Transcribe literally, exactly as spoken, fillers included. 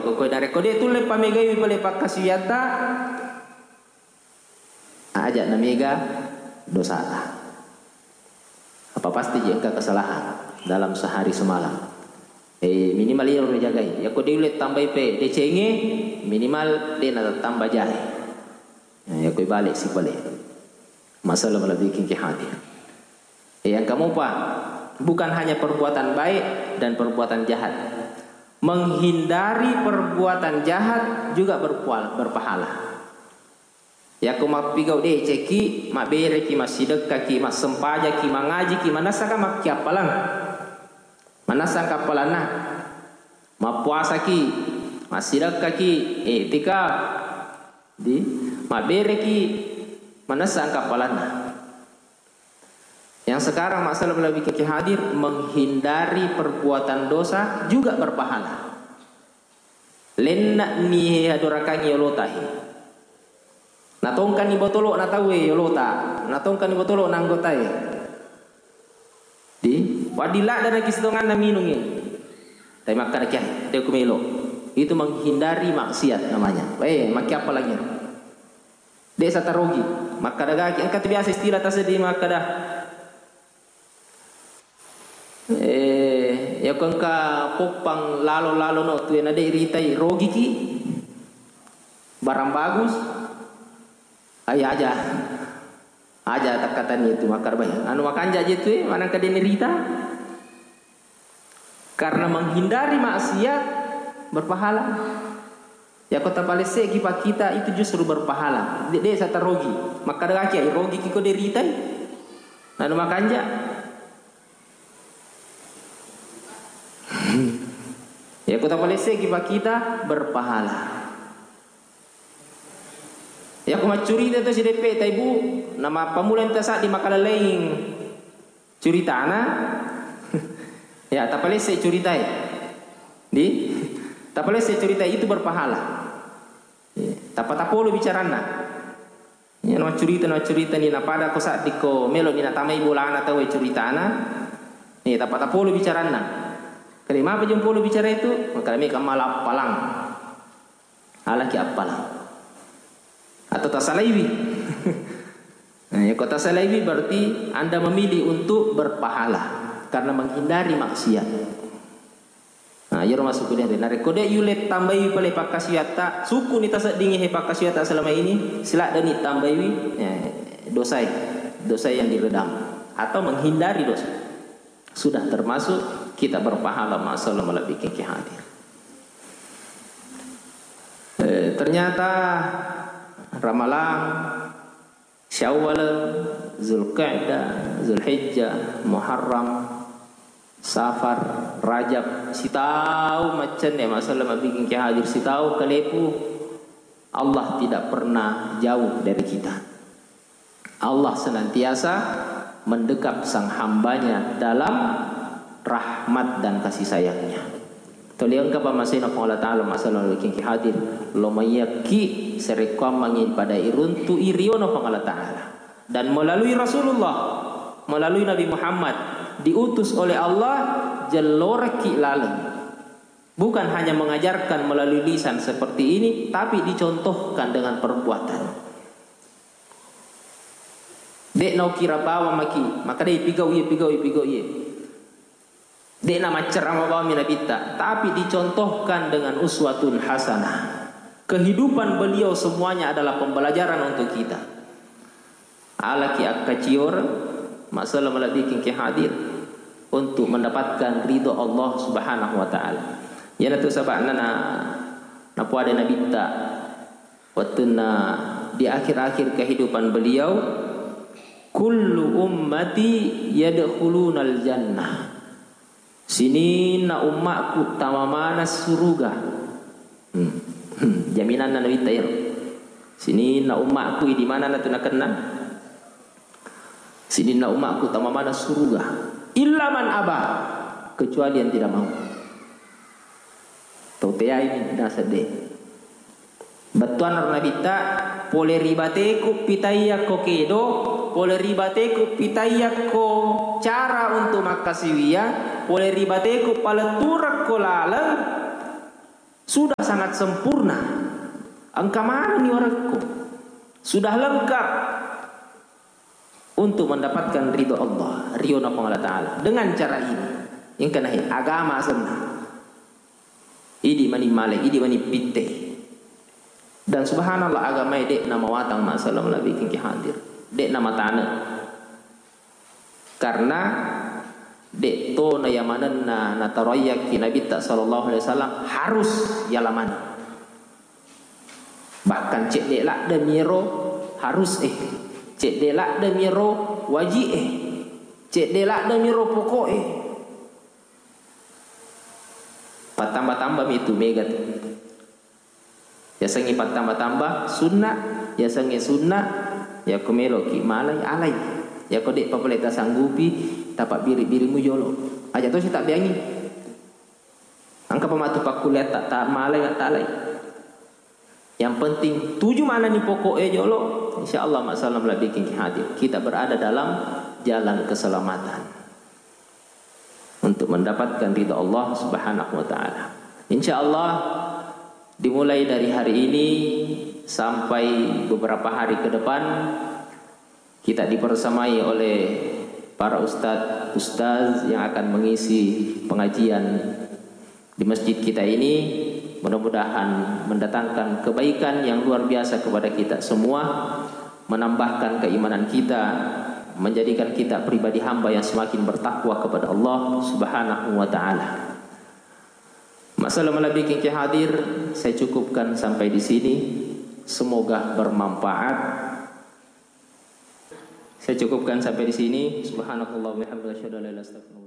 Pokokna narekko de' tulle pamegaiwi pale pakkasiwiatta, aja' namega dosata. Apa pasti je engka kesalahan dalam sehari semalam. Eh, minimal iyaro rijagai. Yakko de' ulle tambai pe decengnge, minimal de' natattamba jae. Nah, yakko ibale sipale. Masalah malebbiking ki hadir. Eh, yang keempat, bukan hanya perbuatan baik dan perbuatan jahat. Menghindari perbuatan jahat juga berpual-, berpahala. Yakko mappigau decekki, mabbereki, massidekkaki, massempajaki, mangajiki, manessaka makkiappalang. Manessa kappalanna. Mappuasaki, massidekkaki, iktikaf. Di, mabbereki, manessa kappalanna. Yang sekarang masalah lebih ke hadir, menghindari perbuatan dosa juga berpahala. Lenna'ni adorakangngi yolota he. Natongkanni botolo' na tauwe yolota, natongkanni botolo' na anggotae. Di, waddi laddanaki sitonganna minungngi. Tapi makkada kiai, de' ku melo. Itu menghindari maksiat namanya. Eh, makkiappalangngi. De' satarogi. Makkada gaki, engka tu biasa istilah taseddi makkada. Eh, yakko engka poppang lalo-lalo no tue na de' ritai rogiki. Barang bagus. Ai aja. Aja takkatanni itu makkada bai. Anu makanja' je tue, manengka de' nirita. Karena menghindari maksiat berpahala. Yakko tapalesse'ki pakkita itu justru berpahala. De', de' satarogi. Makkada gaki, ai rogiki ko de' ritai. Nanu makanja'. Yakko tapalesse'ki pakkita berpahala. Yakko maccurita tu sideppe taibu, nama pammula enta saddi makalaleing curitana. Ya, tapalesse curitae. Di? Tapalesse curitae itu berpahala. Ya, tappa tapolo bicaranna. Ya, na maccurita, na maccurita ni, napada ko saddi ko melo ni natamai bolana tau curitana. Ya, tappa tapolo bicaranna. Kali mapa jempolo bicara itu? Maka meka malappalang. Alaki appalang. Atau tasalaiwi. Nah, ya, ko tasalaiwi berarti Anda memilih untuk berpahala karena menghindari maksiat. Nah, iyaro masuk kuliah. Narekko de' yulle tambaiwi pale pakkasiwiatta, sukuni taseddingi he pakkasiwiatta selama ini, siladdeni tambaiwi, eh, dosae, dosa yang diredam atau menghindari dosa. Sudah termasuk kita berpahala, masalah malebbiking ki hadir. Eh, ternyata Ramalang, Syawal, Zulqa'dah, Zulhijjah, Muharram, Safar, Rajab, sitau maccenne, masalah malebbiking ki hadir, sitau kalepu, Allah tidak pernah jauh dari kita. Allah senantiasa mendekap sang hambanya dalam rahmat dan kasih sayangnya. Tuli engka pammasena Puang Allah Ta'ala, masalah malebbiking ki hadir, lo mayyakki sarekkuammengngi pada iruntu'i riono Puang Allah Ta'ala. Dan melalui Rasulullah, melalui Nabi Muhammad, diutus oleh Allah, jellorekki laleng. Bukan hanya mengajarkan melalui lisan seperti ini, tapi dicontohkan dengan perbuatan. De' naukira bawang maki, maka de' pigau iye, pigau iye, pigau iye. De' namaccerama bawang mi Nabitta, tapi dicontohkan dengan uswatun hasanah. Kehidupan beliau semuanya adalah pembelajaran untuk kita. Alaki akkacioreng, masalah malebbiking ki hadir untuk mendapatkan ridho Allah Subhanahu wa Ta'ala. Iyanatu saba'na na, napuada Nabitta wettunna di akhir-akhir kehidupan beliau, "Kullu ummati yadkhulunal jannah." Sininna ummakku tama maneng suruga. Hmm. Hmm. Jaminanna Nabitta iyaro. Sininna ummakku idi manenna tu nakenna. Sininna ummakku tama maneng suruga. Illa man aba, kecuali yang tidak mau. Tau teai ni naseng de. Bettuanna ro Nabitta, pole ri bateku pitaiyakko kedo, pole ri bateku pitaiyakko cara untuk makkasiwiyang, pole ri bateku paletturekko laleng, Sudah sangat sempurna. Engka manenni warekko. Sudah lengkap untuk mendapatkan ridho Allah, riona Puang Allah Ta'ala. Dengan cara ini. Engka nahe agama asenna. Idi mani male, idi mani pitte. Dan subhanallah, agamae de'na mawatang, masalah malabikeng ki hadir. De'na matane. Karena de' to na yamanenna nataroyakki Nabitta sallallahu alaihi wasallam harus yala maneng. Bahkan cedde' ladde' miro harus eh. Cedde' ladde' miro waji eh. Cedde' ladde' miro pokok eh. Pattamba-tamba mi tu mega tu. Yasengnge pattamba-tamba sunna, yasengnge sunna, yakko meloki malai, alai. Yakko de'pa pole tasanggupi, tapabbiri-birimu jolo. Aja tosi tabbeangi. Engka pematu pakkuliatta, ta malai, ta alai. Yang penting tuju manenni pokok e jolo, insya Allah masalah malabikeng ki hadir. Kita berada dalam jalan keselamatan untuk mendapatkan ridha Allah Subhanahu wa Ta'ala. Insya Allah, dimulai dari hari ini sampai beberapa hari ke depan, kita dipersamai oleh para ustadz, ustaz yang akan mengisi pengajian di masjid kita ini. Mudah-mudahan mendatangkan kebaikan yang luar biasa kepada kita semua, menambahkan keimanan kita, menjadikan kita pribadi hamba yang semakin bertakwa kepada Allah Subhanahu wa Ta'ala. Masalah malabikeng ki hadir, saya cukupkan sampai di sini. Semoga bermanfaat. Saya cukupkan sampai di sini. Subhanakallahumma wa bihamdika, asyhadu an la ilaha illa anta, astaghfiruka wa atubu ilaik.